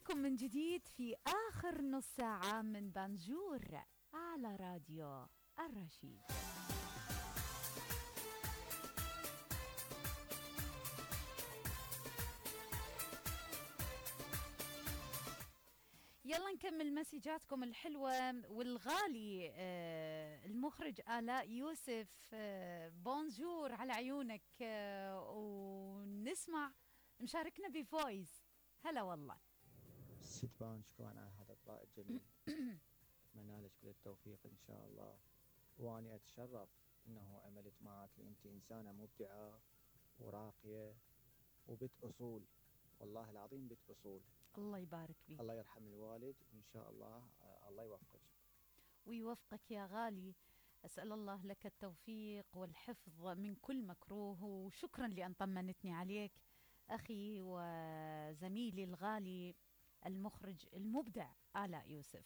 بكم من جديد في آخر نص ساعة من بانجور على راديو الرشيد. يلا نكمل مسجاتكم الحلوة والغالي. المخرج آلاء يوسف، بونجور على عيونك. ونسمع مشاركنا بفويس. هلا والله ست بان، شكرا على هذا الإطلاق الجميل. أتمنى لك كل التوفيق إن شاء الله، وأني أتشرف أنه عملت معك، أنت إنسانة مبدعة وراقية وبنت أصول، والله العظيم بنت أصول. الله يبارك فيك. الله يرحم الوالد، وإن شاء الله الله يوفقك ويوفقك يا غالي. أسأل الله لك التوفيق والحفظ من كل مكروه، وشكرا لأن طمنتني عليك أخي وزميلي الغالي المخرج المبدع آلاء يوسف.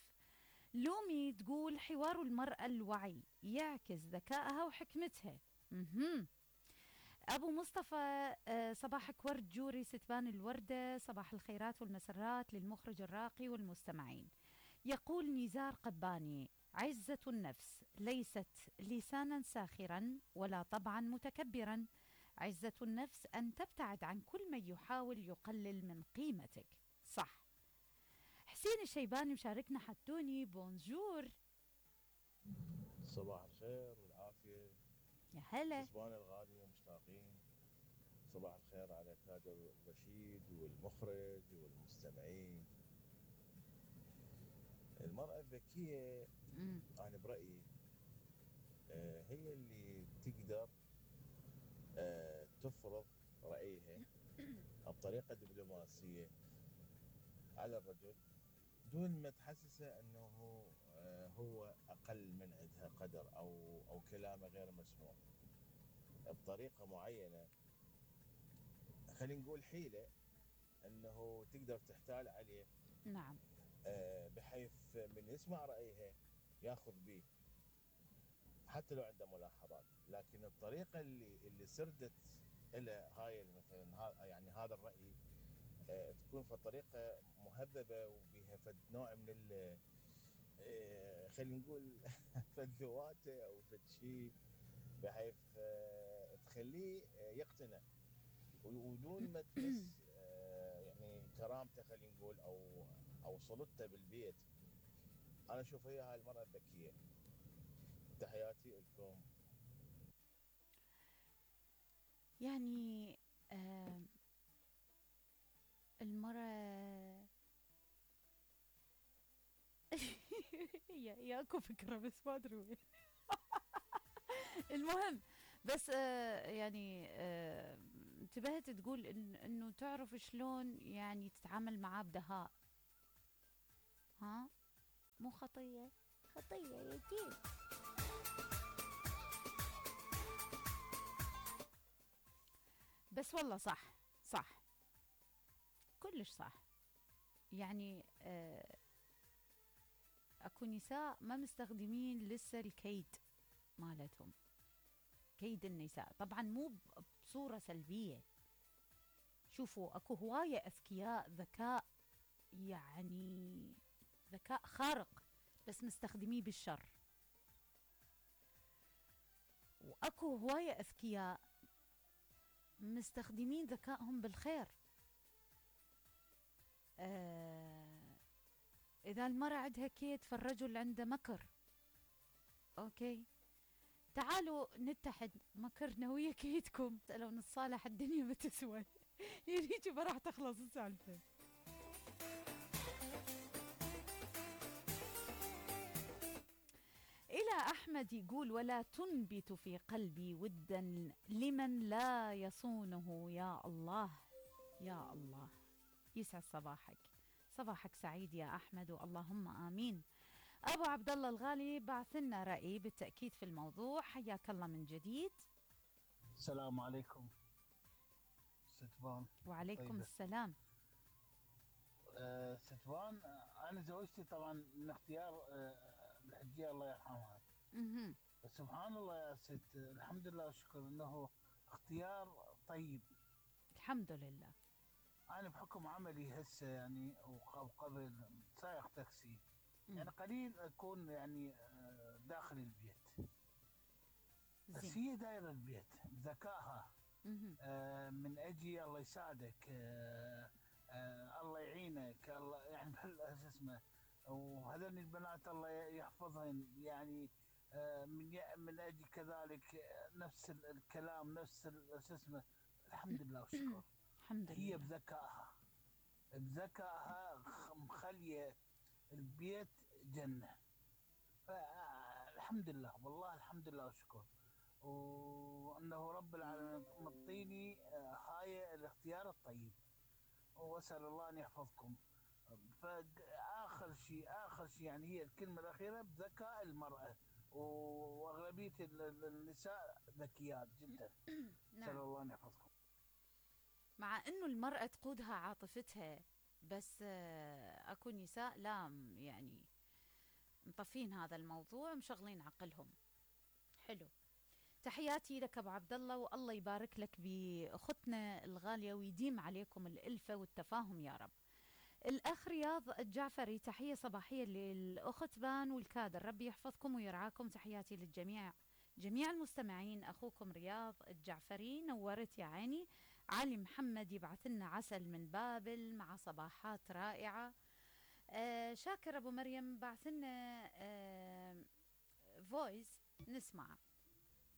لومي تقول حوار المرأة الوعي يعكس ذكائها وحكمتها. أبو مصطفى، صباحك ورد جوري ستبان الوردة، صباح الخيرات والمسرات للمخرج الراقي والمستمعين. يقول نزار قباني: عزة النفس ليست لسانا ساخرا ولا طبعا متكبرا، عزة النفس أن تبتعد عن كل من يحاول يقلل من قيمتك. صح. حسين الشيباني مشاركنا حدوني بونجور. صباح الخير والعافية يا هلا كسبان الغالي ومشتاقين. صباح الخير على كادر الرشيد والمخرج والمستمعين. المرأة الذكية أنا برأيي هي اللي تقدر تفرض رأيها بطريقة دبلوماسية على الرجل دون ما تحسسه أنه هو أقل من عندها قدر أو كلامه غير مسموع، بطريقة معينة. خلينا نقول حيلة أنه تقدر تحتال عليه. نعم. بحيث من يسمع رأيها ياخذ به حتى لو عنده ملاحظات، لكن الطريقة اللي سردت إلى هاي مثلا يعني هذا الرأي تكون في طريقة مهذبة وبها فد نوع من خلينا نقول فد ذواته أو فد شيء، بحيث تخليه يقتنع ودون ما تمس يعني كرامته، خلينا نقول أو سلطته بالبيت. أنا أشوف هي هاي المرأة الذكية. تحياتي لكم. يعني المرأة يا اكو فكرة بس ما ادري وين. المهم بس يعني انتبهت تقول انه تعرف شلون يعني تتعامل معاه بدهاء. ها مو خطية يا كيف. بس والله صح كلش صح. يعني اكو نساء ما مستخدمين لسه الكيد مالتهم، كيد النساء طبعا مو بصورة سلبية. شوفوا اكو هواية اذكياء، ذكاء يعني ذكاء خارق بس مستخدميه بالشر، واكو هواية اذكياء مستخدمين ذكائهم بالخير. إذا المرأة عندها كيد فالرجل عنده مكر. أوكي تعالوا نتحد مكرنا ويا كيدكم، لو نتصالح الدنيا ما تسوى. يعني ما راح تخلص السالفة. إلى أحمد يقول: ولا تنبت في قلبي ودا لمن لا يصونه. يا الله يا الله، يسعد صباحك سعيد يا أحمد، واللهم آمين. أبو عبد الله الغالي بعث لنا رأي بالتأكيد في الموضوع. حياك الله من جديد. السلام عليكم ستبان. وعليكم طيبة. السلام. ستبان، أنا زوجتي طبعا من اختيار الحجية الله يرحمها. بس سبحان الله يا ست، الحمد لله والشكر انه اختيار طيب. الحمد لله. انا بحكم عملي هسه يعني وقبل سائق تاكسي، مم. يعني قليل اكون يعني داخل البيت، بس زين. هي دايره البيت بذكائها. مهم. من اجي الله يساعدك، الله يعينك، الله يعني شو اسمه، وهذول البنات الله يحفظهن يعني. من اجي كذلك نفس الكلام، نفس شو اسمه. الحمد لله والشكر. الحمد هي لله. بذكائها مخليه البيت جنه. فالحمد لله والله، الحمد لله والشكر، وانه رب العالمين مطيني هاي الاختيار الطيب، واسال الله ان يحفظكم. اخر شيء يعني هي الكلمه الاخيره بذكاء المراه، واغلبيه النساء ذكيات جدا. اسال نعم. الله ان يحفظكم. مع انه المرأة تقودها عاطفتها، بس اكو نساء لا يعني مطفين هذا الموضوع، مشغلين عقلهم. حلو. تحياتي لك ابو عبد الله، والله يبارك لك باختنا الغاليه، ويديم عليكم الالفه والتفاهم يا رب. الاخ رياض الجعفري، تحيه صباحيه للاخت بان والكادر، ربي يحفظكم ويرعاكم، تحياتي للجميع، جميع المستمعين. اخوكم رياض الجعفري، نورت يا عيني. علي محمد يبعث لنا عسل من بابل مع صباحات رائعه. شاكر ابو مريم بعث لنا فويس نسمع.